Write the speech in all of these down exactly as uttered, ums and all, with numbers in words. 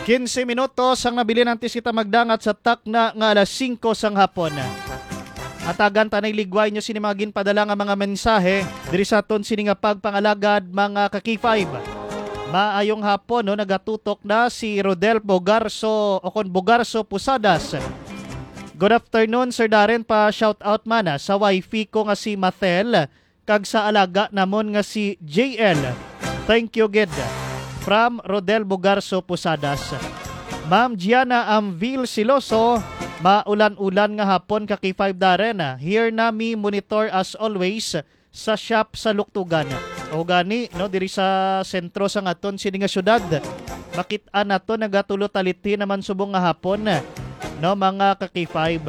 Quince minutos ang nabilin antes kita magdangat sa takna nga alas singko sang hapon. Hatagan ta na iligway nyo sini mga ginpadala nga mga mensahe diri sa aton sini nga pagpangalagad, mga ka-K five. Maayong hapon, no? Nagatutok na si Rodel Bogarso o kon Bogarso Pusadas. Good afternoon, Sir Darren. Pa shout out man, ah, sa wifey ko nga si Mathel kag sa alaga namon nga si J L. Thank you gid. From Rodel Bugarso Pusadas. Ma'am Gianna Amvil Siloso, maulan-ulan nga hapon ka K five Darren. Here nami monitor as always sa shop sa Luktugan. O gani, no, diri sa sentro sa ngaton sini nga syudad, makit-an nato nagatulo talithi naman subong nga hapon, no, mga ka K five.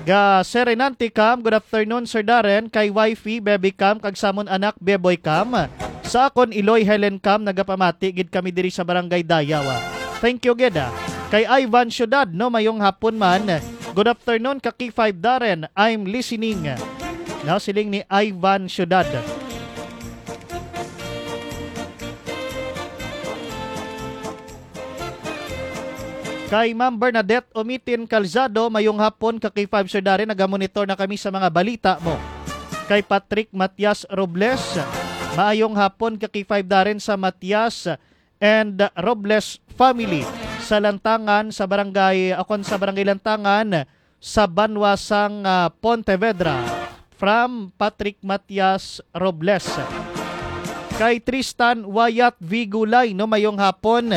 Ga Serenante Cam, good afternoon, Sir Darren, kay wifey, baby Cam, kag samon anak, Beboy Cam. Sa akon, Iloy Helen Cam, nagapamati gid kami diri sa Barangay Dayaw. Thank you gid, ah. Kay Ivan Ciudad, no, mayong hapon man. Good afternoon, ka K five Darren. I'm listening. No, siling ni Ivan Ciudad. Kay Ma'am Bernadette Umitin Calzado, mayong hapon, ka K five Sir Darren, nagamonitor na kami sa mga balita mo. Kay Patrick Matias Robles, maayong hapon, ka K five Darren, sa Matias and Robles family sa Lantangan, sa barangay, akon sa barangay Lantangan, sa banwa sang, ah, Pontevedra. From Patrick Matias Robles. Kay Tristan Wayat Vigulay, no, mayong hapon.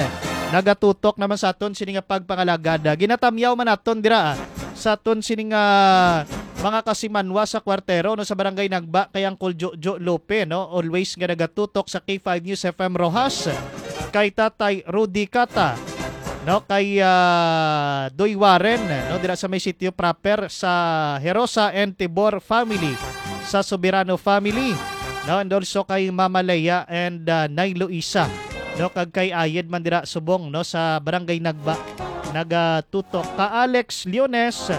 Nagatutok naman sa aton sini nga pagpangalagad. Ginatamyaw man naton dira, ah, sa aton sini nga mga kasimanwa sa kwartero, no, sa Barangay Nagba, kay Uncle Jojo Lope, no, always nga nagatutok sa K five News F M Roxas, kay Tatay Rudy Cata, no, kay, ah, Doy Warren, no, dira sa may sitio proper sa Herosa and Tibor family, sa Soberano family, no, and also kay Mama Leia and, ah, Nay Luisa, no, kag kay Ayed man dira subong, no, sa Barangay Nagba, nagatutok. Ka Alex Leones,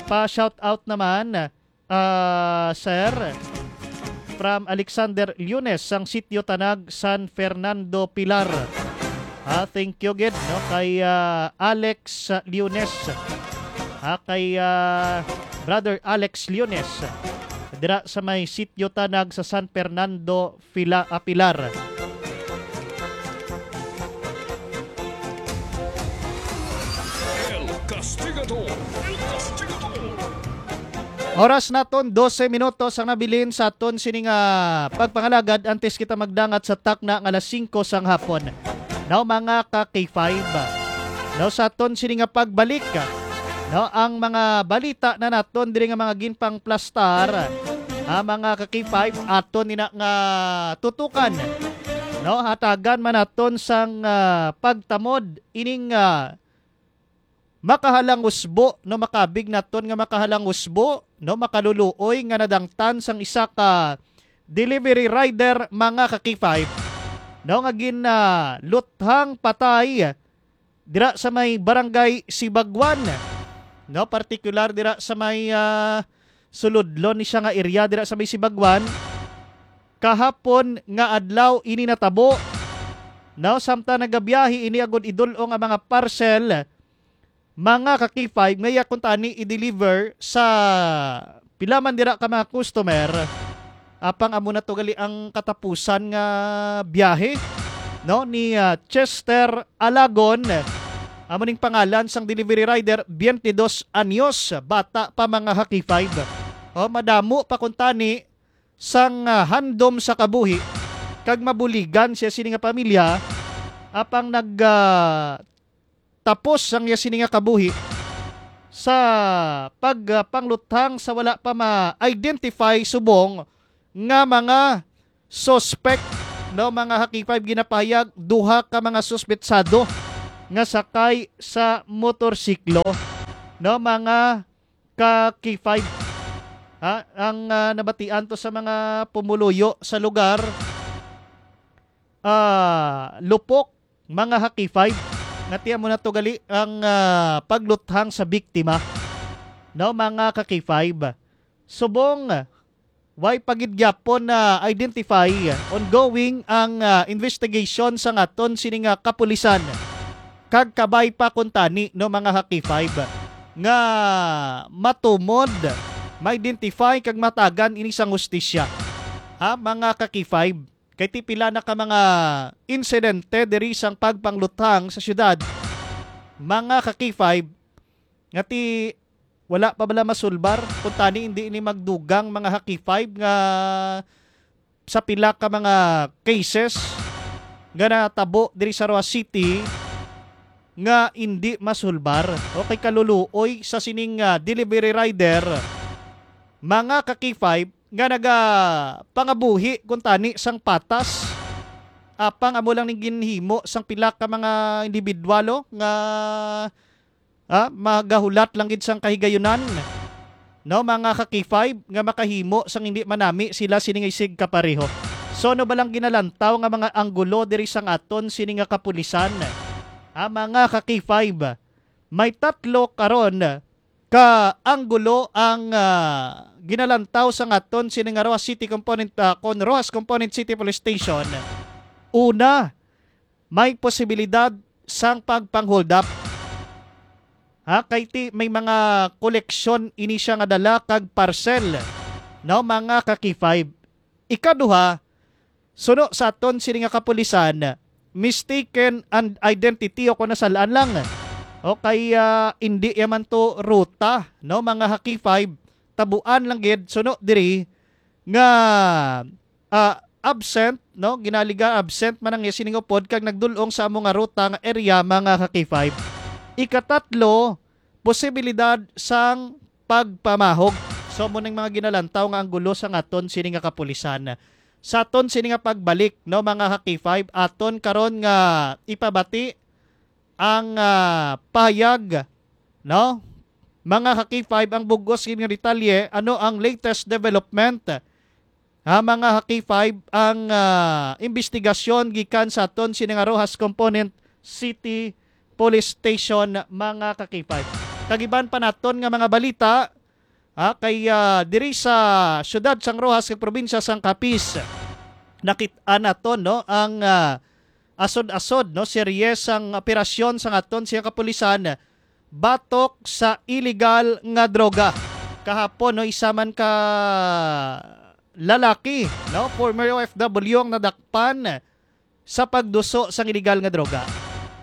pa shout out naman, ah, sir, from Alexander Leones sang Sitio Tanag, San Fernando, Pilar. Ah, thank you gid, no, kay, ah, Alex Leones. Ah, kay, ah, Brother Alex Leones. Dira sa may Sitio Tanag sa San Fernando, Pila-, ah, Pilar. El Castigador. El Castigador. Oras naton, dose minutos ang nabilin sa aton sini nga pagpangalagad antes kita magdangat sa takna nga alas singko sang hapon. Now, mga ka K five, no, sa aton sini nga pagbalik, no, ang mga balita na naton diri nga mga ginpangplastar, ah, mga ka K five, aton nina nga tutukan, no, hatagan man naton sang, ah, pagtamod ining, ah, makahalangusbo, no, makabig naton nga makahalangusbo, no, makaluluoy nga nadangtan sang isa ka delivery rider, mga ka K five, no, nga gin, ah, luthang patay dira sa may barangay Sibagwan, no, partikular dira sa may, ah, sulodlon ni siya nga area dira sa may Sibagwan. Kahapon nga adlaw ini natabo, no, samtang nagabiyahe ini agud idul-ong ang mga parcel, mga ka K five, nga iya kuntani i-deliver sa pila man dira ka mga customer. Apang amo na to gali ang katapusan nga biyahe, no, ni, ah, Chester Alagon. Amo ning pangalan sang delivery rider, twenty-dos anyos, bata pa, mga ka K five. O, madamo pa kuntani sang, ah, handom sa kabuhi kag mabuligan siya sini nga pamilya, apang nag, ah, tapos ang iya sini nga kabuhi sa pag, ah, pangluthang sa wala pa ma-identify subong nga mga suspect, no, mga ka K five. Ginapahayag duha ka mga suspetsado nga sakay sa motorsiklo, no, mga ka K five. Ha, ang, ah, nabatian to sa mga pumuluyo sa lugar, ah, lupok, mga ka K five, nga tiyan mo na to gali ang, ah, pagluthang sa biktima, no, mga ka K five. Subong, way pa gid gyapon na identify, ongoing ang, ah, investigation sa ngaton sini nga kapulisan. kag kabay pa kuntani, no, mga ka-K five, nga matumod, ma-identify kag matagan ini sang hustisya. Ha, mga ka-K five, kay ti pila na ka mga insidente diri sang pagpangluthang sa syudad, mga ka-K five, nga ti wala pa bala masulbar, kuntani hindi ini magdugang, mga ka-K five, nga sa pila ka mga cases nga natabo diri sa Roxas City nga indi masulbar o kay kaluluoy sa sining, ah, delivery rider, mga ka-K five, nga nagapangabuhi kuntani sang patas. Apang amo lang ning ginhimo sang pila ka mga individual, oh, nga, ah, magahulat lang gid sang kahigayunan, no, mga ka-K five, nga makahimo sang hindi manami sila sini nga isig kapareho. So, ano ba lang ginalantaw nga mga anggulo diri sang aton sini nga kapulisan? Ah, mga ka-K five, may tatlo karon ka anggulo ang, ah, ginalantaw sang aton sini nga Roxas City Component, ah, kon Roxas Component City Police Station. Una, may posibilidad sang pagpang-hold up. Ha, kay ti may mga koleksyon ini siya nga dala kag parcel, no, mga ka-K five. Ikaduha, suno sa aton sini nga kapulisan, mistaken and identity o kung nasal-an lang. O kay, ah, indi yaman to ruta, no, mga ka-K five, tabuan lang gid suno diri nga, ah, absent, no? Ginaliga absent man ang iya sining upod kag nagdul-ong sa amo nga ruta nga area, mga ka-K five. Ikatatlo, posibilidad sang pagpamahog. So, amo ning mga ginalantaw nga anggulo sang aton sini nga kapulisan. Sa aton sini nga pagbalik, no, mga ka-K five, aton karon nga ipabati ang, ah, pahayag, no? Mga ka-K five, ang bug-os gid nga detalye, ano ang latest development? Ha, mga ka-K five, ang, ah, imbestigasyon gikan sa aton sini nga Roxas Component City Police Station, mga ka-K five. Kag iban pa naton nga mga balita, ha, kay, ah, diri sa siyudad sang Roxas kag probinsya sang Capiz, nakit-an naton, no, ang, ah, asod-asod, no, serye sang operasyon sang aton sini nga kapulisan batok sa iligal nga droga. Kahapon, no, isa man ka lalaki, no, former O F W, ang nadakpan sa pagduso sang iligal nga droga.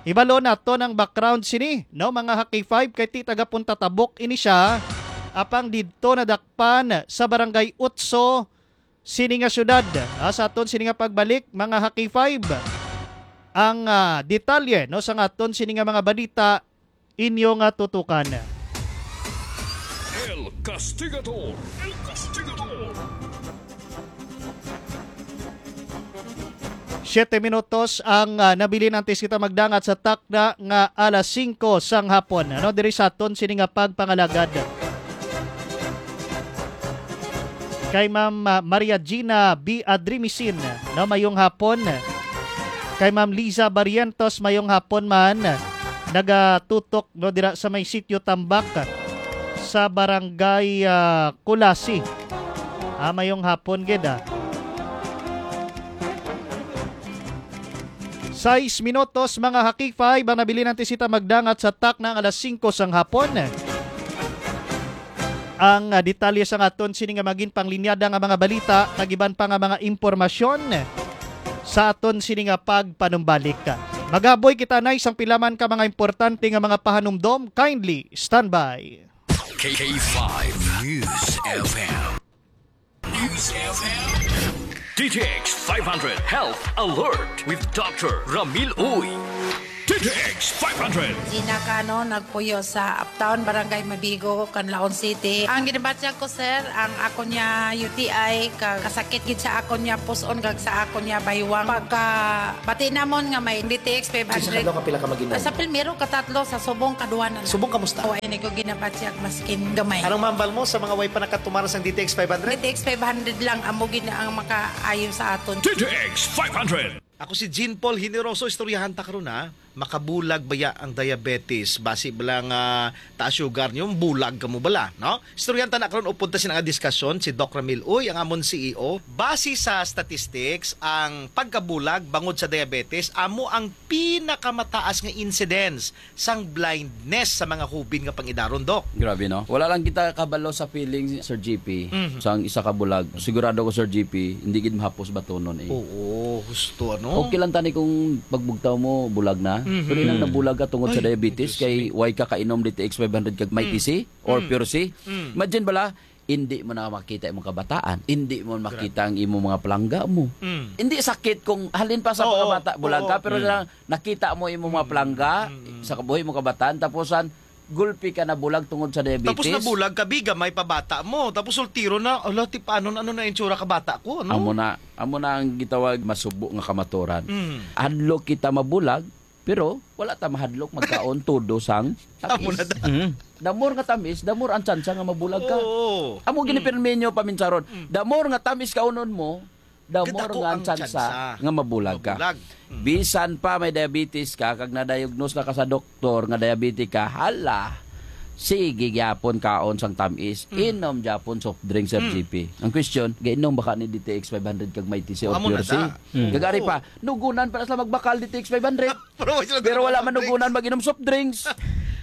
Hibalo naton ang background sini, no, mga ka-K five, kay ti taga Punta Tabok ini siya, apang didto nadakpan sa Barangay Utso sini nga syudad. Ah, sa aton sini nga pagbalik, mga ka-K five, ang, ah, detalye, no, sa aton sini nga mga balita, inyo nga tutukan. El Castigador. El Castigador. Siyete minutos ang, ah, nabilin antes kita magdangat sa takna nga alas singko sang hapon. Ano, diri sa aton sini nga pagpangalagad. Kay Ma'am, ah, Maria Gina B. Adrimisin, no, mayong hapon. Kay Ma'am Liza Barrientos, mayong hapon man. Nagatutok, no, dira sa may Sitio Tambak sa Barangay, ah, Culasi. Ah, mayong hapon gid, ah. Sais minutos, mga ka-K five, ang nabilin antes kita magdangat sa takna nga alas singko sang hapon. Ang, ah, detalye sang aton sini nga magin panglinyada nga mga balita kag iban pa nga mga impormasyon sa aton sini nga pagpanumbalik. Magaboy kita na isang pila man ka mga importante nga mga pahanumdom. Kindly stand by. K five News F M. News F M. D T X five hundred Health Alert with Doctor Ramil Uy. D T X five hundred. Gina Cano, nagpuyo sa Uptown, Barangay Mabigo, Canlaon City. Ang ginabatyag ko, sir, ang ako niya U T I, ka-, kasakit gid sa ako niya puson, kag sa ako niya baywang. Pagka bati namon nga may D T X five hundred. Sa kadlaw, kapila ka mag-inom? Sa primero, katatlo, sa subong, kaduha na lang. Subong, kamusta? O, ay, ko ginabatyag maskin gamay. Anong mambal mo sa mga way pa nakatumar sang D T X five hundred? D T X five hundred lang amo gid ang makaayo sa aton. D T X five hundred. Ako si Jean Paul Generoso, istoryahan ta karon, ha. Makabulag baya ang diabetes? Basi bala nga taas sugar niyo, bulag kamo bala, no? Istoryahan ta na karon, upod ta sina nga diskasyon, si Doc Ramil Uy, ang amon C E O. Base sa statistics, ang pagkabulag bangod sa diabetes amo ang pinakamataas nga incidence sang blindness sa mga hubin nga pangidaron, Doc. Grabe, no? Wala lang kita kabalo sa feeling, Sir G P, Mhm. sang isa ka bulag. Sigurado ko, Sir G P, hindi gid mahapos batunon, eh. Oo, husto, ano? Okay lang tani kung pagbugtaw mo, bulag na. Mhm. Pero inang Mm. nabulag ka tungod sa Ay, diabetes, Diyos kay ko. Why ka kainom D T X five hundred kag Mighty Mm. C or Mm. Pure C? Mm. Imagine bala, hindi mo na makita imong kabataan, hindi mo makita ang imong mga palangga mo. Mm. Hindi sakit kung halin pa sa Oo, mga bata, bulag oo. ka, pero Mm. lang nakita mo imong mga Mm. palangga Mm. sa kabuhi mo kabataan, tapusan, gulpi ka nabulag tungod sa diabetes. Tapos nabulag ka, biga, may pabata mo. Tapos soltero na, ala, ti, paano, ano na itsura ka bata ko, ano? Amo na, amo na ang gitawag masubo nga kamaturan. Mm. Hadlok kita mabulag, pero wala ta mahadlok magkaon todo sang Amo na tamis. da. Mm. The more nga tamis, the more ang tsansa nga mabulag ka. Oo. Amo Mm. ginipirmi nyo paminsaron. Mm. The more nga tamis kaunon mo, the more Kadako nga ang ang tsansa tsansa nga mabulag ka. mabulag. Mm. Bisan pa may diabetes ka, kag na-diagnose na ka sa doktor nga diabetic ka, hala, sige gyapon kaon sang tamis. Mm. Inom gyapon soft drink, Sir Mm. G P. Ang question, gainom ba ka ni D T X five hundred kag Mighty C o Amo na Pure C? da. Mm. Kag ari Oo. pa, nugunan pa na sila magbakal D T X five hundred. Pero wala sila Pero wala nag-soft man drinks. nugunan mag-inom soft drinks.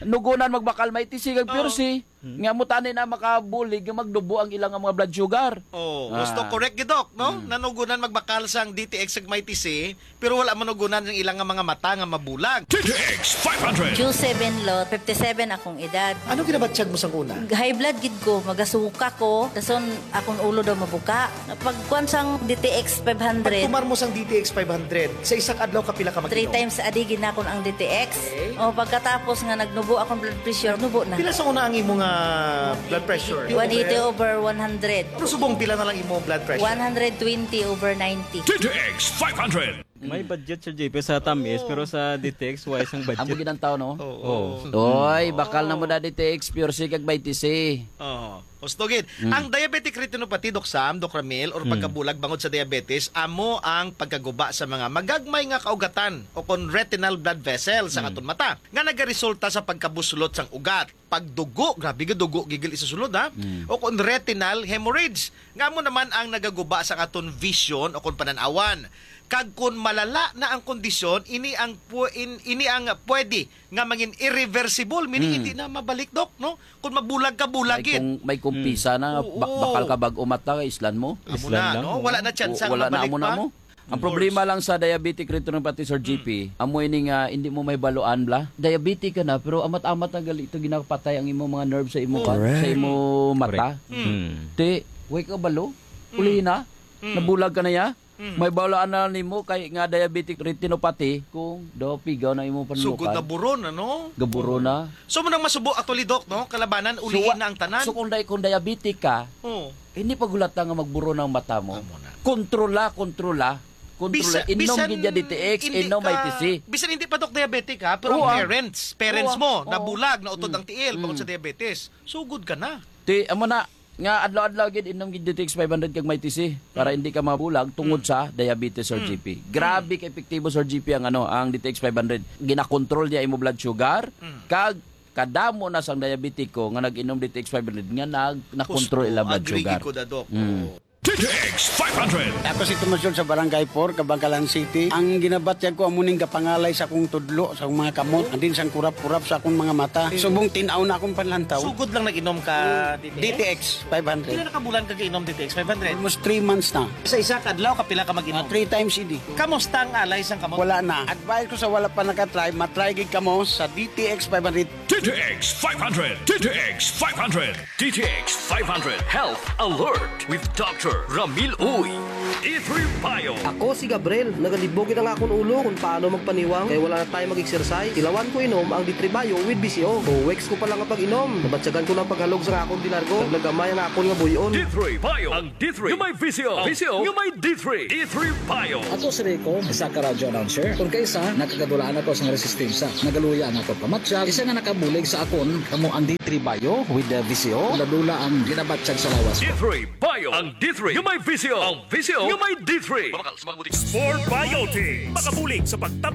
Nugunan magbakal Mighty C kag Pure Oo. C. Hmm. Nga mo tani na makabulig nga magdubo ang ilang mga blood sugar. Oh, Ah. gusto correct gid, Doc, no? Hmm. Nanugunan magbakal sang D T X kag Mighty C, pero wala manugunan ang ilang nga mga mata nga mabulag. D T X five hundred. Q seven lot, fifty-seven akong edad. Ano ginabatyag mo sang una? High blood gid ko, magasuka ko, dason akong ulo daw mabuka. Pagkuan sang D T X five hundred. Pagtumar mo sang D T X five hundred, sa isa ka adlaw kapila ka Three mag-inom? times a day ginakon ang D T X. Okay. O, pagkatapos nga nagnubo akong blood pressure, nubo na. Pila sa una ang imo nga blood pressure? One eighty over one hundred. Pero subong pila na lang imo blood pressure? One hundred twenty over ninety. D T X five hundred. May budget, Sir J P, sa tamis, Oo. pero sa D T X, wala sang budget. Amo ginantaw, no? Oo. Oo. Oy, bakal na mo na D T X, Pure C, kag Mighty C. Oo. Husto gid. Mm. Ang diabetic retinopathy, Doc Sam, Doc Ramil, or Mm. pagkabulag bangod sa diabetes, amo ang pagkaguba sa mga magagmay nga kaugatan o kon retinal blood vessel sa Mm. aton mata nga nagaresulta sa pagkabuslot sang ugat, pagdugo, grabe gid, dugo gigil isa sulod, ha? Mm. O kon retinal hemorrhage, nga amo naman ang nagaguba sa aton vision o kon panan-awan. Kag kon malala na ang kondisyon, ini ang pu-, in-, ini ang pwede nga mangin irreversible, meaning Mm. hindi na mabalik, Doc, no? Kung mabulag ka, bulag May gid. kung, may kumpisa Mm. na, ba-, Oo. bakal ka bag-o mata, islan mo. Amo Islan na, lang, no? oo. Wala na tsansa O, nga wala na mabalik amo na pa. mo. Ang Of problema course. lang sa diabetic retinopathy, Sir Mm. G P, amo ini nga hindi mo may baluan, bla. Diabetic ka na, pero amat-amat na gali ito ginapatay ang imo mga nerve sa imo Oo. pa-, sa Correct. imo mata. Correct. Mm. Mm. Te, way ka balo? Mm. Uli na? Mm. Nabulag ka na ya? Mm. May balaan na nimo kay nga diabetic retinopathy kung daw pigaw na imong panlukad. Sugod na buron, ano? Gaburo Oo. na. So, mo nang masubo, actually, Doc, no? Kalabanan, So, uliin wa-, na ang tanan. so kung di-, kung diabetic ka, Oo. hindi pa gulata nga magburo ang mata mo. Amo na. Kontrola, kontrola. Kontrola. Bisa-, Inom bisan gid ya D T X, hindi inom ka, may T C. bisan hindi pa, Doc, diabetic, ha? Pero Oo, ang ah. parents, parents Oo, mo, ah. Oo. nabulag, nautod Mm. ang tiil, bangod sa Mm. diabetes. Sugod ka na. Ti, amo na, nga adlaw-adlaw gid inom gid D T X five hundred kag may T C para Mm. hindi ka mabulag tungod Mm. sa diabetes, Sir Mm. G P. Grabe Mm. ka epektibo, Sir G P, ang ano, ang D T X five hundred. Ginakontrol niya imo blood sugar, Mm. kag kadamo na sang diabetiko nga nag-inom D T X five hundred nga nag-, nakontrol Gusto, ila blood agree sugar. gid ko, Doc. Mm. Oo. D T X five hundred. Ako si Tomas John sa Barangay four, Kabankalan City. Ang ginabatyag ko amo ning gapangalay sa akong tudlo, sa akong mga kamot, and then sang kurap-kurap sa akong mga mata. Subong tin-aw na akong panlantaw. Sugod lang nag-inom ka, Mm. D T X? D T X five hundred. Pila na ka bulan ka kainom D T X five hundred? Almost three months na. Sa isa ka adlaw, kapila ka mag-inom? Ah, three times a day. Kamusta ang alay sang kamot? Wala na. Advice ko sa wala pa nakatry, matry gid kamo sa D T X five hundred. D T X five hundred. D T X five hundred. D T X five hundred Health Alert with Doctor Ramil Uy. D three Bio. Ako si Gabriel. Nagalibog gid ang akon ulo kung paano magpaniwang kay wala na tayo mag-exercise. Tilawan ko inom ang D three Bio with V C O. Two weeks ko pa lang nga pag-inom, nabatyagan ko na ang paghalog sa akon di largo. Naglagamay ang akon nga buy-on. D three Bio. Ang D three nga may V C O. V C O nga may D three. D three Bio. Ako si Rico, isa ka radyo announcer. Kung kaisa, nakagadulaan ako sa resistensya. Nagaluya ang akon pamatyag. Isa nga nakabulig sa akon, kamo ang D three Bio with the V C O. Dula-dula ang ginabatyag sa lawas ko. D three Bio. Ang D three nga may V C O. Ang V C O nga may D three. Sport Biotics. Makabulig sa pagtap-